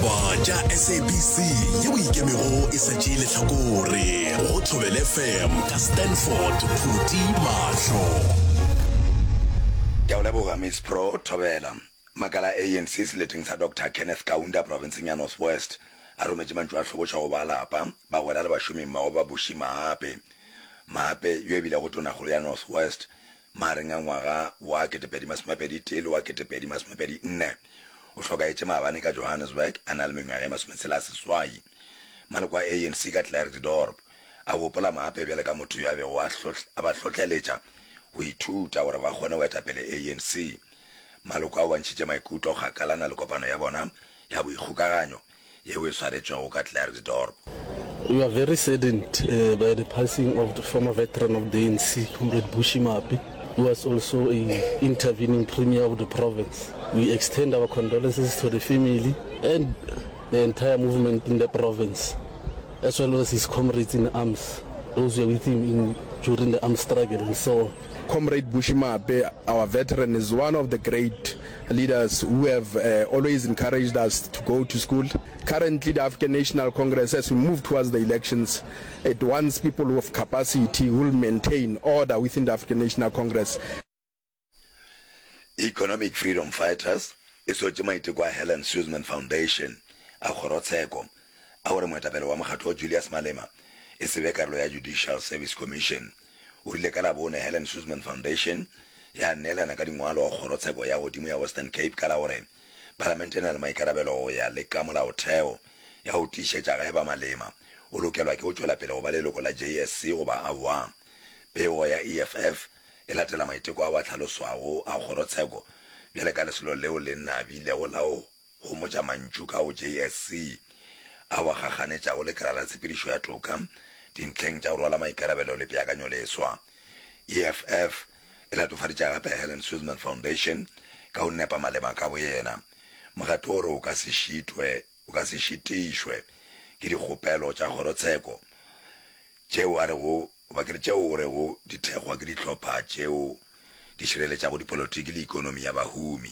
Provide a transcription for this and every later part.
Ditaba tša SABC yeo ikemego e sa tšee lehlakore go Thobela FM ka Stanford Phuti Mahlo. Ke a o leboga Miss Pro Thobela. Makala a ANC seleteng sa Doctor Kenneth Kaunda profenseng ya North West a rometše mantšu a hlobošo go ba lapa, bagwera le bašomimmogo ba Bushy Maape. Maape, yo e bilego tonakgolo ya North West Magareng a ngwaga wa 2021 le wa 2024, o hlokaetše maabane ka Johannesburg a na le mengwaga e masometshela a seswai. Maloko a ANC ka Klerksdorp a gopola Maape bjalo ka motho yo a bego a ba hlohleletša go ithuta gore ba kgone go eta pele ANC. Maloko ao a ntšhitše maikutlo kgakalana le kopano ya bona ya boikgokaganyo yeo e swaretšwego ka Klerksdorp. We are very saddened by the passing of the former veteran of the ANC, Comrade Bushy Maape, who was also a intervening premier of the province. We extend our condolences to the family and the entire movement in the province, as well as his comrades in arms, those who were with him in, during the armed struggle and so on. Comrade Bushy Maape, our veteran, is one of the great leaders who have uh, always encouraged us to go to school. Currently, the African National Congress, as we move towards the elections, it wants people who have capacity who will maintain order within the African National Congress. Economic Freedom Fighters e sotše maiteko a Helen Suzman Foundation a kgorotsheko a gore moetapele wa mokgatlo Julius Malema e se be karolo ya Judicial Service Commission. O rile ka Labone Helen Suzman Foundation ya neelana ka dingwalo go kgorotsheko ya godimo ya Western Cape ka la gore palamente e na le maikarabelo go ya le ka molaotheo ya go tiišetša ge eba Malema o lokelwa ke go tšwela pele go ba leloko la JSC goba aowa. Pego ya EFF e latela maiteko ao a hlaloswago a kgorotsheko bjale ka lesolo leo le nabilego la go homotša mantšu ka go JSC ao a gaganetšago lekala la tshepedišo ya toka dintlheng tša go rwala maikarabelo le peakanyoleswa. EFF e latofaditše gape Helen Suzman Foundation ka go nepa Malema ka boyena. Mokgatlo o re o ka se šitwe o ka se šitišwe ke dikgopelo tša kgorotsheko tšeo a rego goba ke re tšeo o rego di thekgwa ke dihlopha tšeo di šireletšago dipolotiki le ikonomi ya bahumi.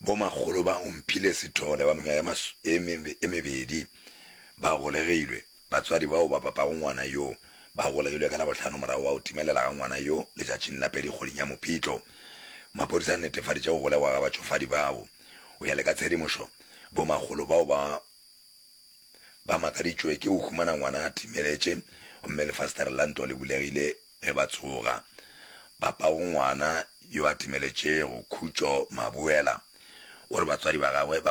Bomakgolo ba Omphile Sithole ba mengwaga e mebedi ba golegilwe. Batswadi bao ba papago ngwana yo ba golegilwe ka Labohlano morago ga go timelela ga ngwana yo letšatšing la pedi kgweding ya Mopitlo. Maphodisa a netefaditše go golegwa ga batšofadi bao. Go ya le ka tshedimošo, bomakgolo bao ba ba makaditšwe ke go humana ngwana a timeletše gomme lefastere la ntlo le bulegile ge ba tsoga. Papago ngwana yo a timeletšego, Khutšo Mabuela, o re batswadi ba gagwe ba.